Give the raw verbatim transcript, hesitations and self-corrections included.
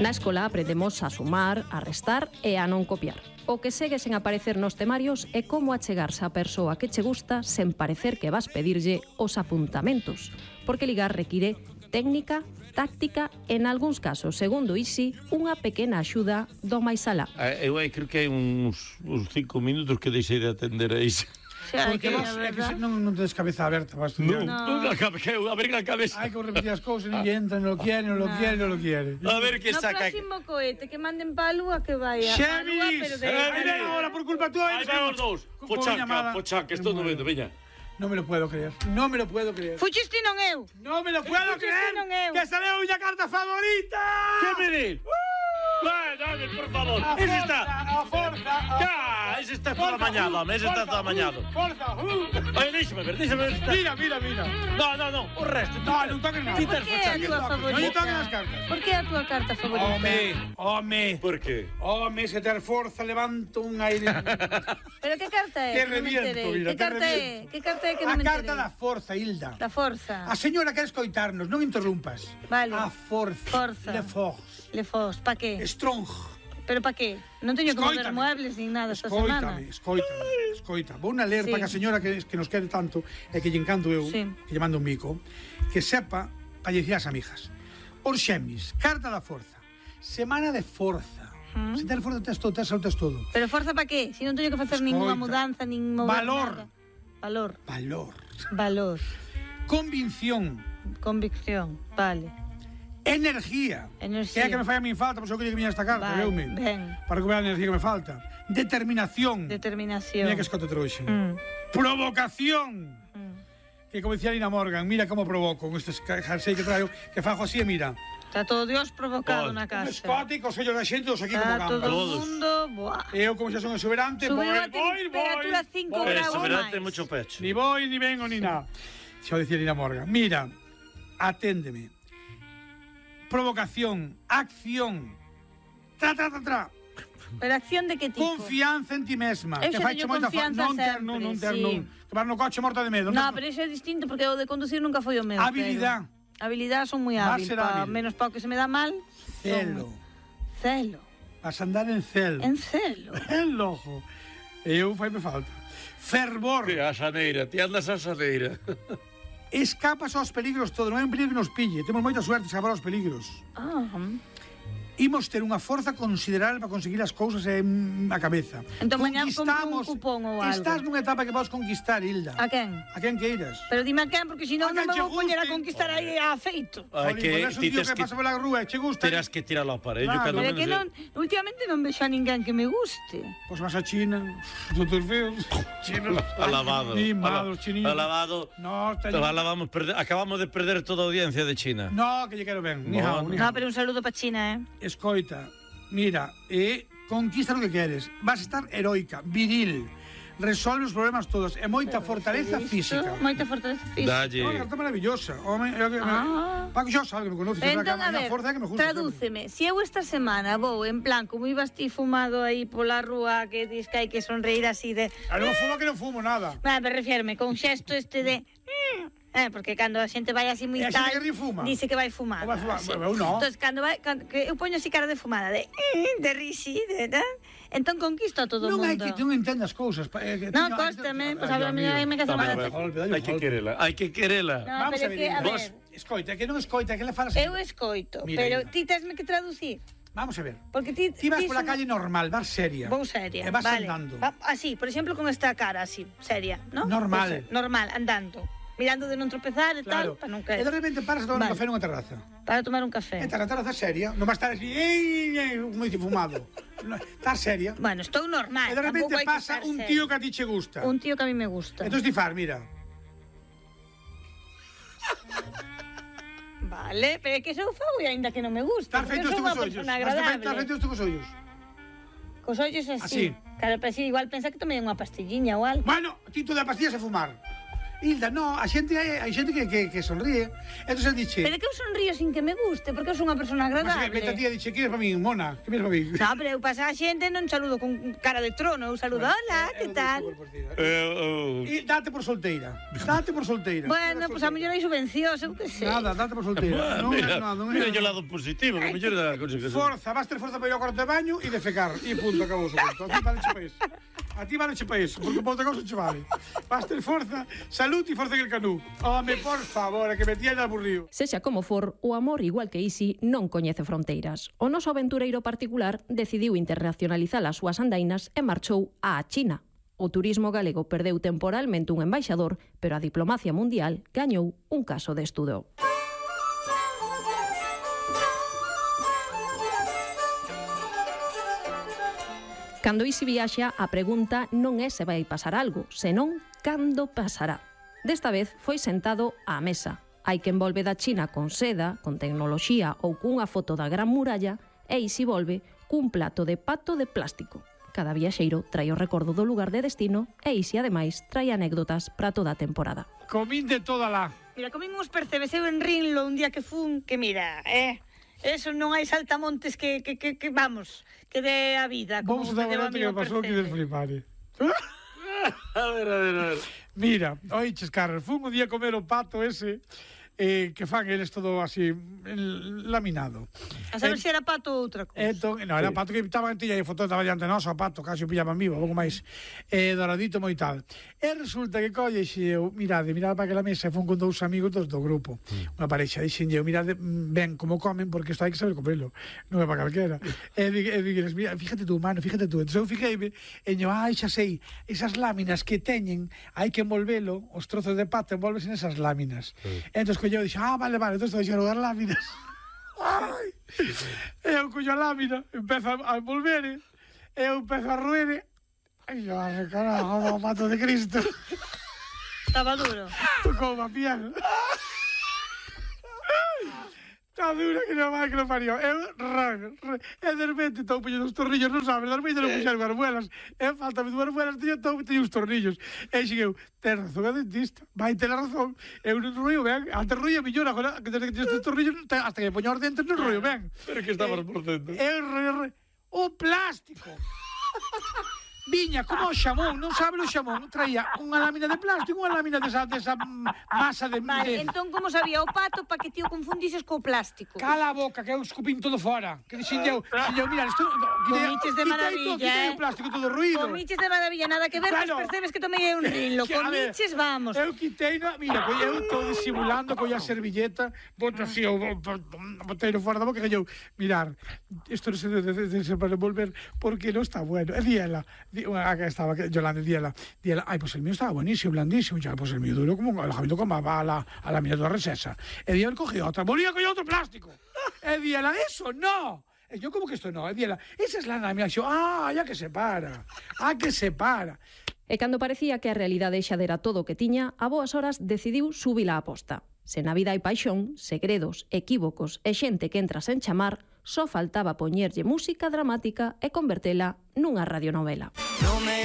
Na escola aprendemos a sumar, a restar e a non copiar. O que segue sen aparecer nos temarios é como achegarse á persoa que che gusta sen parecer que vas pedirlle os apuntamentos, porque ligar require técnica, táctica e, en algúns casos, segundo Isi, unha pequena axuda do máis alá. Eu aí creo que hai uns, uns cinco minutos que deixei de atender a Isi. Porque vos, é que se, non, non tedes cabeza aberta para estudiar. Non, non, a ver a cabeza. Hai que repetir as cousas, ninguén entra, non lo quiere, non lo quiere, non lo quiere. A ver que saca. No próximo cohete, que manden pa a lúa, que vaya. Xemis! Aí ven agora por culpa túa. Aí ven os dous. Pochaca, pochaca, estou no vendo, veña. Non me lo puedo creer, non me lo puedo creer. Fuchiste non eu. Non me lo puedo creer. Que sale a miña carta favorita. Que me dis? Vai, dame, por favor. Ese está. A forza. Cá, ese está todo amañado, ese está todo amañado. Forza. Oye, déxame ver, déxame ver. Mira, mira, mira. No, no, no, o resto. No, non toques nada. Por que é a túa favorita? Non toques as cartas. Por que é a túa carta favorita? Home, home. Por que? Home, se ter forza, levanto un aire. Pero que carta é? Te reviento, mira, que te carta é? reviento. Que carta é que non A me enterei? carta da forza, Hilda. Da forza. A señora quer escoitarnos, non interrumpas. Vale. A forza. Forza. Le force. Le fos, pa que? Strong. Pero pa que? Non teño que mover Escóitame. muebles nin nada esta semana. Escoítame, escoítame, escoita. Vou na ler Sí. para que a señora que, que nos quere tanto e que lle encanto eu, Sí. que lle mando un mico, que sepa para lle dicir ás amigas. Os Xemis, carta da forza. Semana de forza. Mm. Se ter forza tes todo, tes o tes todo. Pero forza pa que? Si non teño que facer Escoita. ninguna mudanza, nin mover Valor. nada. Valor. Valor. Valor. Convicción. Convicción. Vale. Energía. Enerxía. Que é que me fai a min falta, por eso que lle que viña esta carta, Vale, veume. ben. Para recuperar a energía que me falta. Determinación. Determinación. Mira que escote trouxe. Mm. Provocación. Mm. Que como decía Lina Morgan, mira como provoco con estes jersey que traio, que fajo así e mira. Está todo Dios provocado Oh, na Un casa. escote cos ollos da xente, os aquí como Está todo gambas. o Todos. mundo, buah. Eu, como xa son exuberante, Subiu voy, a voy, temperatura voy, cinco voy. graus. Eso, máis. verá, ten mucho pecho. Ni voy, ni vengo, ni nada. Xa o decía Lina Morgan. Mira, aténdeme. Provocación, acción, tra, tra, tra, tra. Pero acción de que tipo? Confianza en ti mesma. Eu que xa faiche teño moita fa- confianza non ter, sempre, non, non ter, sí. non. Que vas no coche morta de medo. No, pero iso é distinto porque o de conducir nunca foi o meu. Habilidad. Pero. Habilidad son moi Vas hábil, ser pa, hábil. menos pa o que se me dá mal. Celo. son- Celo. Vas a andar en celo. En celo. En lojo. Eu fai me falta. Fervor. Que a xaneira, ti andas a xaneira. Escapas aos peligros todo, non é un peligro que nos pille. Temos moita suerte de escapar aos peligros. Ah, Imos ter unha forza considerable para conseguir as cousas en a cabeza. Entón, mañá compro un cupón ou algo. Estás nunha etapa que podes conquistar, Hilda. a quen? A quen queiras. Pero dime a quen, porque senón A non quen me che vou poñer a guste. conquistar aí a feito. Hai Jolín, que pois es un ti tío tes que que pasa pola rúa e che gusta. terás que tiralo ao aparello, Claro. cando Pero é menos que é- non, últimamente non vexo a ninguén que me guste. Pois vas a China, doutor feos. Chinos. Alabado. Mimados, Ala- chininos. Alabado. No, teño... Alabamos, perde- acabamos de perder toda a audiencia de China. No, que lle quero ben. Ni hao, Bueno. ni No, hao. pero un saludo pa China, eh? Escoita, mira, e conquista o que queres. Vas a estar heroica, viril, resolve os problemas todos e moita fortaleza Isto, física. Moita fortaleza física. Dalle. Unha carta maravillosa. Home, eu, Ah. Paco xa sabe que me conoces, Entón, entón, a a ver, forza é que me gusta. tradúceme. Si eu esta semana vou en plan como ibas ti fumado aí pola rúa que dis que hai que sonreír así de... A non fumo que non fumo nada. Ah, me refierme con xesto este de... Eh, porque cando a xente vai así moi E a tal, xente que ri fuma? dice que vai fumar. Ou vai fumar? Sí. Eu non. Entón, cando vai, cando, que eu poño así cara de fumada, de de risi, de tal, entón conquisto a todo o Non hai mundo. que non entendas cousas. pa- eh, que No, teño- cóstame, pues Ay, habla Dios mía, mío. me casa Dame, mal. a ver. Golpe, dale un Hai que golpe. querela, hai que querela. No, Vamos pero a ver, que, a vos, ver, escoita, que non escoita, que le falas. eu escoito, Mira, pero Hilda. ti tesme que traducir. Vamos a ver. Porque ti, Ti vas ti pola son- calle normal, vas seria. Vou seria, E vas vale. andando. Va, así, por exemplo, con esta cara así, seria, ¿no? Normal. Pues, normal, andando. Mirando de non tropezar e Claro. tal, para non E caer. de repente paras a tomar Vale. un café nunha terraza. Para tomar un café. E tal, a terraza seria, non vas estar así, ei, ei, como dice, fumado. No, estás seria. Bueno, estou normal. E de repente tampouco hai que pasa estar un seria. tío que a ti che gusta. Un tío que a mí me gusta. Entón ti far, mira. Vale, pero é que sou fago e aínda que non me gusta. Estás feito porque isto sou cos unha ollos. persona Estás feito agradable. isto cos ollos. Cos ollos así. Así. Claro, pero si igual pensa que tomei unha pastilliña ou algo. Bueno, ti tú da pastillas a fumar. Hilda, no, a xente hai xente que, que, que sonríe. Entón el diche... Pero que eu sonrío sin que me guste, porque eu son unha persona agradable. Mas que a tía diche, que eres para mí, mona? Que eres para mí? No, pero eu paso a xente non saludo con cara de trono, eu saludo, hola, que tal? E date por solteira. Date por solteira. Bueno, pois pues a mellor hai subvencións, eu que sei. Nada, date por solteira. Ah, Non, mira, no, non, mira o lado positivo, que mellor da consecuencia. Forza, vas ter forza para ir ao cuarto de baño e defecar. E punto, acabou o conto. A ti vale che pa iso. A ti vale che pa iso, porque para outra cousa che vale. Vas ter forza, salud e forza en el canú. Home, por favor, que me tía aburrido. Sexa como for, o amor, igual que Isi, non coñece fronteiras. O noso aventureiro particular decidiu internacionalizar as súas andainas e marchou á China. O turismo galego perdeu temporalmente un embaixador, pero a diplomacia mundial gañou un caso de estudo. Cando Isi viaxa, a pregunta non é se vai pasar algo, senón cando pasará. Desta vez foi sentado á mesa. Hai quen volve da China con seda, con tecnoloxía ou cunha foto da Gran Muralla, e Isi volve cun plato de pato de plástico. Cada viaxeiro trai o recordo do lugar de destino e Isi, ademais, trai anécdotas para toda a temporada. Comín de toda lá. Mira, comín uns percebes eu en Rinlo un día que fun, que mira, eh... Eso non hai saltamontes que, que, que, que vamos, que dé a vida. Vamos a dar un que me pasou que desflipar. A ver, a ver, a ver. Mira, oiches, Carlos, fun un día a comer o pato ese, eh, que fan eles todo así, el, laminado. A saber se era pato ou outra cousa. Entón, non, era pato que estaba en tilla e foto estaba diante nosa, o pato, casi o pillaban vivo, pouco máis eh, doradito moi tal. E resulta que colle xe eu, mirade, mirade para aquela mesa e fun con dous amigos dos do grupo, mm. unha parexa, dixen eu, mirade ben como comen, porque isto hai que saber comerlo, non é para calquera. E digues, mira, fíjate tú, mano, fíjate tú. Entón eu fijéime, e yo, ai, xa sei, esas láminas que teñen, hai que envolvelo, os trozos de pato envolves en esas láminas. Mm. Entón, que eu dixo, ah, vale, vale, entón estou dixendo as láminas. Ai, eu collo a lámina, empezo a envolver, eu empezo a roer, e yo, ai, carajo, o pato de Cristo. Estaba duro. Tocou a piel. Está dura que non vai que non parió. Eu, ran, ran, e de repente estou poñendo os tornillos, non sabes, de repente non puxeron as muelas. E faltame dúas muelas, teño estou poñendo os tornillos. E xegueu, ten razón a dentista, vai ter razón. Eu non rollo ben, antes rollo millón, agora que desde que teño estes tornillos, hasta que me poño os dentes non rollo ben. Pero que estabas por dentro. Eu rollo, o plástico. Viña como o xamón, non sabe o xamón, traía unha lámina de plástico, unha lámina desa, desa masa de... Vale, de... entón como sabía o pato para que ti o confundises co plástico? Cala a boca, que eu escupín todo fora. Que dixen eu, dixen eu, mira, isto... Comiches de maravilla, quitei eh? o plástico todo ruído. Comiches de maravilla, nada que ver, Claro. claro. Percebes que tomei un rinlo. Comiches, vamos. Eu quitei, no, mira, que eu estou disimulando, colla a servilleta, boto así, o boteiro fora da boca, que eu, mirar, isto non se debe de, de, de, para envolver, porque non está bueno. E di ela, di, unha, que estaba, que Yolanda, di ela, di ela, ai, pois pues el mío estaba buenísimo, blandísimo, ya, pois pues el mío duro como el jamito como a la, a la mía toda resesa. E di ela, cogió outra, volvía a coger outro plástico. E di ela, eso no. E yo, como que esto no? E di ela, esa es la lámina. E yo, ah, ya que se para, ah, que se para. E cando parecía que a realidade xa dera todo o que tiña, a boas horas decidiu subir a aposta. Se na vida hai paixón, segredos, equívocos e xente que entra sen chamar, só faltaba poñerlle música dramática e convertela nunha radionovela.